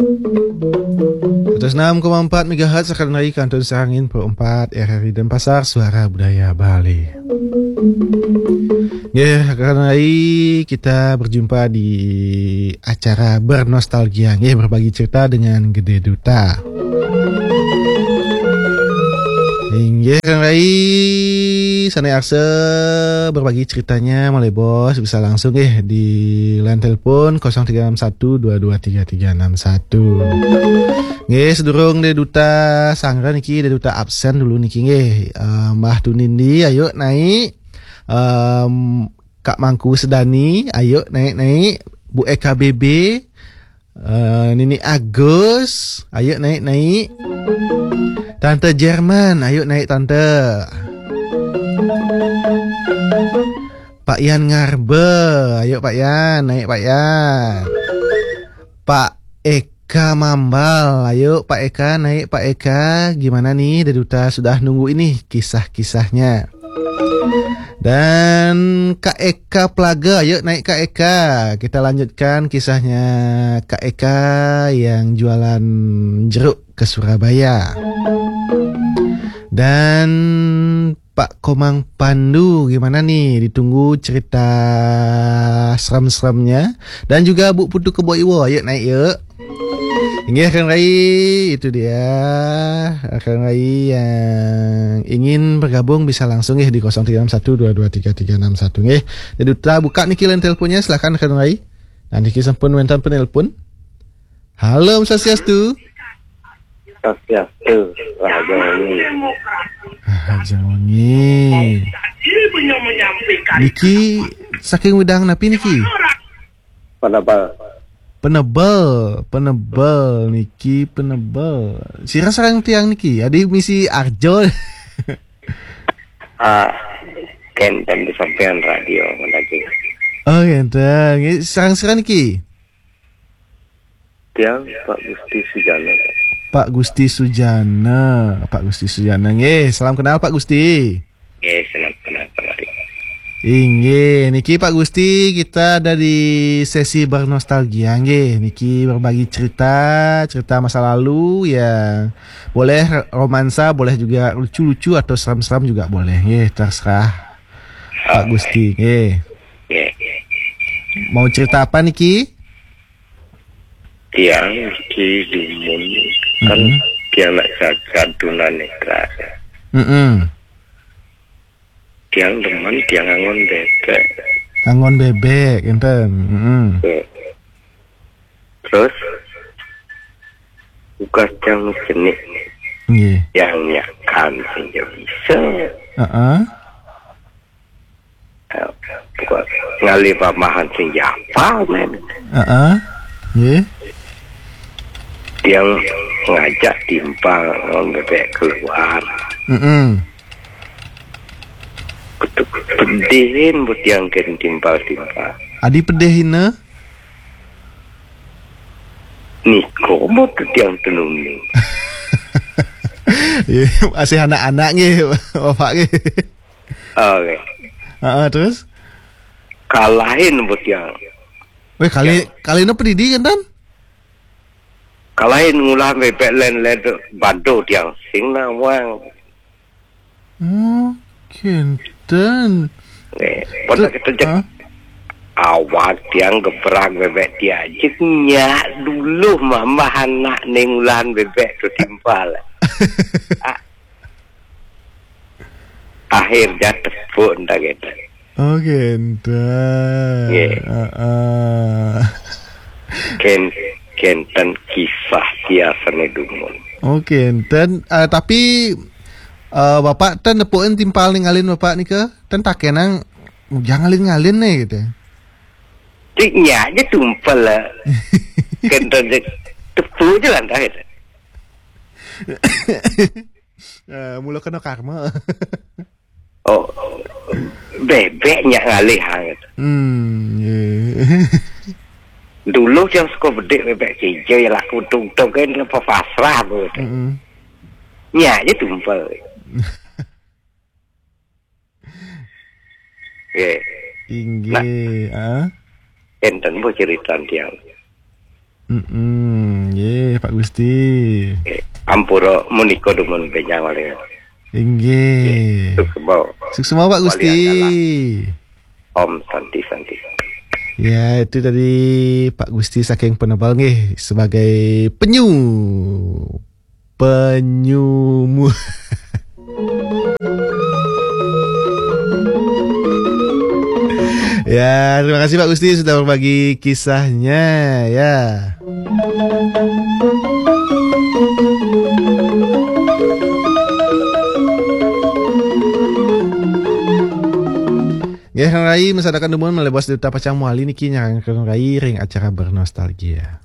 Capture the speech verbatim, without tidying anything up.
Seratus enam koma empat megahertz, akan lagi kantun sarangin Pro empat R R I Denpasar, Suara Budaya Bali. Nggih, akan lagi kita berjumpa di acara Bernostalgia, nggih, berbagi cerita dengan Gede Duta. Inggih, Kang Rai, sané arsa berbagi ceritanya, malih bos, bisa langsung nggih di line telepon kosong tiga enam satu dua dua tiga tiga enam satu. Nggih, sedurung Dé Duta sanggra niki, Dé Duta absen dulu niki nggih. Eh, Mbah Tunindi, ayo naik. Em, Kak Mangku Sedani, ayo naik-naik. Bu Eka B B, eh, Nini Agus, ayo naik-naik. Tante Jerman, ayo naik Tante. Pak Yan Ngarbe, ayo Pak Yan, naik Pak Yan. Pak Eka Mambal, ayo Pak Eka, naik Pak Eka. Gimana nih, Dé Duta sudah nunggu ini kisah-kisahnya. Dan Kak Eka Plaga, ayo naik Kak Eka. Kita lanjutkan kisahnya Kak Eka yang jualan jeruk ke Surabaya. Dan Pak Komang Pandu, gimana nih? Ditunggu cerita serem-seremnya. Dan juga Bu Putu Kebo Iwo, yuk naik yuk. Inggih, Kang Rai, itu dia. Kang Rai yang ingin bergabung bisa langsung nggih di kosong tiga enam satu dua dua tiga tiga enam satu nggih. Jadi Duta buka niki line teleponnya, silakan Kang Rai. Nah, niki sampun wénten penelpon. Halo, Om Swastiastu. Swastiastu, Raja Wengi. Raja Wengi. Niki saking widang napi niki? Penebel. Penebel, penebel niki, penebel. Sira sareng tiang niki, adi misi Arjo. Ah, kénten di sampean radio lagi. Oh, kénten. Nggih, sareng sira niki? Tiang Pak Gusti Sujana. Pak Gusti Sujana, Pak Gusti Sujana. Nggih, salam kenal Pak Gusti. Nggih, salam kenal Pak Gusti. Inggih, niki Pak Gusti, kita ada di sesi bernostalgia nggih. Niki berbagi cerita, cerita masa lalu ya. Boleh romansa, boleh juga lucu-lucu atau seram-seram juga boleh nggih, terserah Pak Gusti nggih. Nggih. Mau cerita apa niki? Tiang niki dumun kan Mm-mm. Tiang nak jagat tunanetra. Mm-mm. Tiang demen tiang angon bebek. Angon bebek, enten. Mm-mm. Nggih. Terus bukan tiang cenik. Nggih. Tiang nyakan saja bisa. Heeh. Eh, bukan ngalih pamahan sing japa, men. Heeh. Nggih. Tiang ngajak timpal ngon bebek keluar. Heeh. Betul, pedihin buat tiang ken timpal-timpal. Adi pedihina? Niko mau tu tiang tenung ni. Ya, masih anak-anak nggih, Bapak nggih. Oke. Heeh, terus? Kalahin buat tiang. Weh, kali, kali no pedidi kan, Tan? Kalahin ngulah bebek len-len tu bado tiang sing nawang. Oh, kenten. Nih, pada Ter-, kita cek. Hah? Awak tiang gebrak bebek tiang. Cek nyak dulu mama anak ning ulan bebek tu timpal. Ah, akhirnya tepuk ndak kita. Oh, kenten. Nggih. Heeh. Ken, kenten kisah tiasane dumun. Oh, kenten. Eh, tapi, eh, Bapak ten nepukin timpal ningalin Bapak nika? Ten pakenang, "Ujang ngalin-ngalin nih," gitu. Cik nyak aja tumpel lah. Kenten cik. Tepuk aja lah, entah gitu. Eh, mula kena karma. Oh, bebek nyak ngalih, ha, gitu. Hmm, ya. Dulu yang suka bedik bebek cincin, ya laku tung-tung kan, apa pasrah, gitu. Mm-mm. Nyak aja tumpel. Ya. Inggih, ah. Enten bu cerita tiang. Mm-mm. Nggih, Pak Gusti. Eh, ampura menika dumun benjang oleh. Inggih. Suksma. Suksma, Pak Gusti. Om Santi Santi. Ya, itu tadi Pak Gusti saking Penebal nggih, sebagai penyu. Penyumu. Ya, terima kasih Pak Gusti sudah berbagi kisahnya, ya. Nggih, Rai, masadakan dumun malih Bos Duta pacang mawali niki nyarengkeun Rai ring acara Bernostalgia.